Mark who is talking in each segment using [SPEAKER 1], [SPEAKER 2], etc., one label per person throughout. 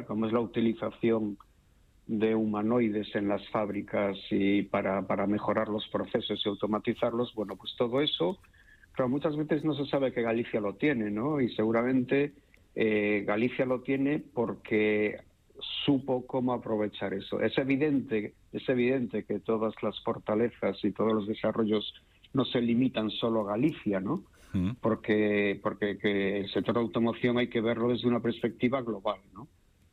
[SPEAKER 1] como es la utilización de humanoides en las fábricas y para mejorar los procesos y automatizarlos, bueno, pues todo eso, pero muchas veces no se sabe que Galicia lo tiene, ¿no? Y seguramente Galicia lo tiene porque supo cómo aprovechar eso. Es evidente que todas las fortalezas y todos los desarrollos no se limitan solo a Galicia, ¿no? Porque que el sector de automoción hay que verlo desde una perspectiva global, ¿no?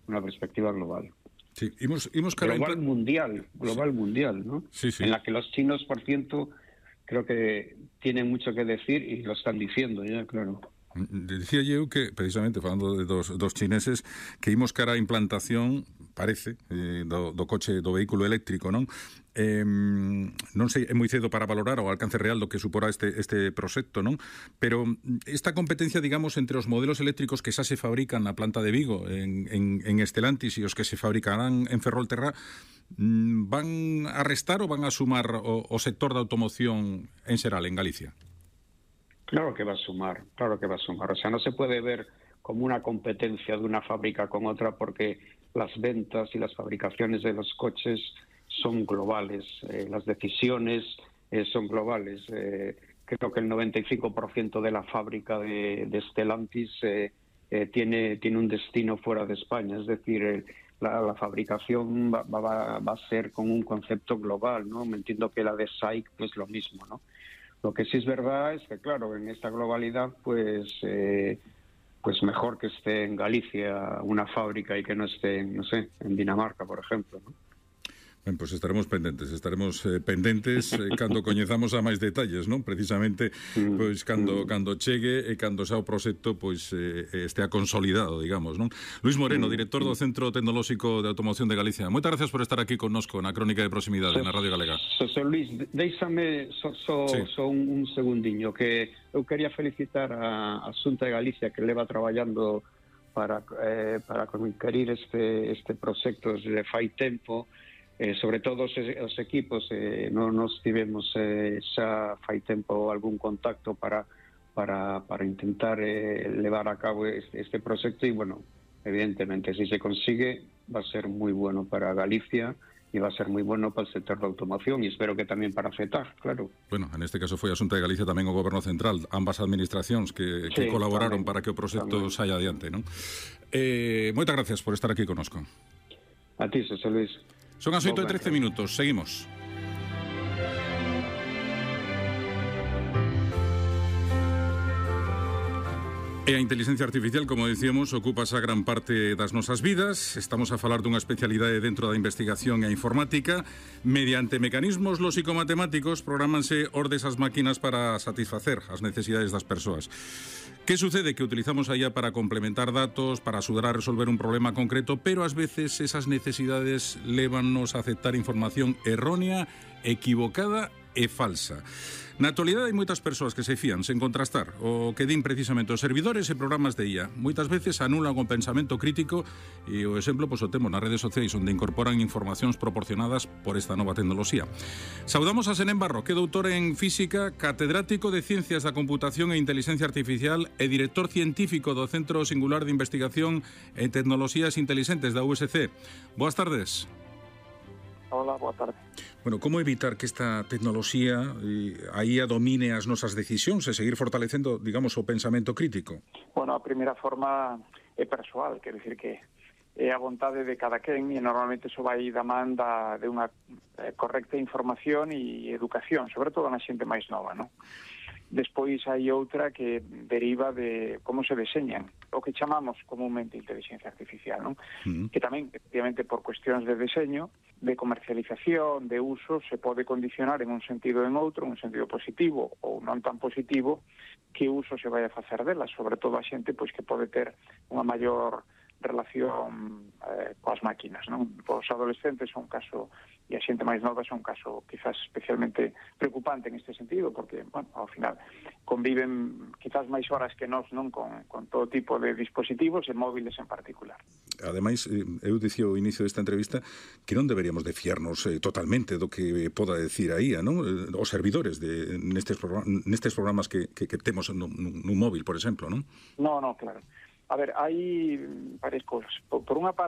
[SPEAKER 1] Una perspectiva global.
[SPEAKER 2] Sí, global
[SPEAKER 1] mundial, ¿no?
[SPEAKER 2] Sí.
[SPEAKER 1] En la que los chinos, por cierto, creo que tienen mucho que decir y lo están diciendo ya, claro.
[SPEAKER 2] Dicía eu que, precisamente, falando de dos chineses, que imos cara a implantación, parece, do coche, do vehículo eléctrico, non? Non sei, é moi cedo para valorar o alcance real do que suporá este proxecto, non? Pero esta competencia, digamos, entre os modelos eléctricos que xa se fabrican na planta de Vigo, en Stellantis, e os que se fabricarán en Ferrolterra, van a restar ou van a sumar o sector da automoción en xeral, en Galicia?
[SPEAKER 1] Claro que va a sumar. O sea, no se puede ver como una competencia de una fábrica con otra porque las ventas y las fabricaciones de los coches son globales, las decisiones son globales. Creo que el 95% de la fábrica de Stellantis tiene un destino fuera de España, es decir, la fabricación va a ser con un concepto global, ¿no? Me entiendo que la de SAIC pues lo mismo, ¿no? Lo que sí es verdad es que, claro, en esta globalidad, pues mejor que esté en Galicia una fábrica y que no esté, no sé, en Dinamarca, por ejemplo, ¿no?
[SPEAKER 2] Ben, pois estaremos pendentes cando coñezamos a máis detalles, non? Precisamente, pois cando chegue e cando xa o proxecto pois estea consolidado, digamos, non? Luís Moreno, director do Centro Tecnolóxico de Automoción de Galicia. Moitas gracias por estar aquí connosco na Crónica de Proximidade na Radio Galega.
[SPEAKER 1] Xosé Luís, deixame só un segundiño, que eu quería felicitar a Xunta de Galicia que leva traballando para conquerir este proxecto desde fai tempo. Sobre todo os equipos nos tivemos xa fai tempo algún contacto para intentar levar a cabo este proxecto e, bueno, evidentemente, si se consigue va a ser moi bueno para Galicia e va a ser moi bueno para o sector da automoción e espero que tamén para CETAG, claro.
[SPEAKER 2] Bueno, en este caso foi a Xunta de Galicia, tamén o Goberno Central, ambas administracións que colaboraron tamén, para que o proxecto saia adiante, non? Moitas gracias por estar aquí connosco.
[SPEAKER 1] A ti, Xosé Luís.
[SPEAKER 2] Son as 8:13 minutos, seguimos. E a inteligencia artificial, como dicíamos, ocupa esa gran parte das nosas vidas. Estamos a falar dunha especialidade dentro da investigación e a informática. Mediante mecanismos lóxico-matemáticos programanse ordes as máquinas para satisfacer as necesidades das persoas. Que sucede? Que utilizamos a IA para complementar datos, para axudar a resolver un problema concreto, pero ás veces esas necesidades lévannos a aceptar información errónea, equivocada e falsa. Na actualidade hai moitas persoas que se fían sen contrastar o que din precisamente os servidores e programas de IA. Moitas veces anulan o pensamento crítico e o exemplo o temos nas redes sociais onde incorporan informacións proporcionadas por esta nova tecnoloxía. Saudamos a Senén Barro, que é doutor en física, catedrático de Ciencias da Computación e Inteligencia Artificial e director científico do Centro Singular de Investigación en Tecnoloxías Inteligentes da USC. Boas tardes.
[SPEAKER 3] Hola, boa tarde.
[SPEAKER 2] Bueno, como evitar que esta tecnoloxía a IA domine as nosas decisións e seguir fortalecendo, digamos, o pensamento crítico?
[SPEAKER 3] Bueno, a primeira forma é persoal, quer dicir que é a vontade de cada quen e normalmente iso vai da man de unha correcta información e educación, sobre todo na xente máis nova, non? Despois hai outra que deriva de como se deseñan, o que chamamos comúnmente inteligencia artificial, non? Que tamén, efectivamente, por cuestións de deseño, de comercialización, de uso, se pode condicionar en un sentido ou en outro, en un sentido positivo ou non tan positivo, que uso se vai a facer delas, sobre todo a xente pois que pode ter unha maior relación coas máquinas, non? Os adolescentes son un caso e a xente máis nova son un caso quizás especialmente preocupante en este sentido, porque, bueno, ao final conviven quizás máis horas que nós, non, con todo tipo de dispositivos e móviles en particular.
[SPEAKER 2] Ademais, eu dicía ao inicio desta entrevista que non deberíamos de fiarnos totalmente do que poda decir a IA, non? Os servidores nestes programas que temos nun móvil, por exemplo, non?
[SPEAKER 3] No, claro. A ver, hai varias cousas. Por unha parte,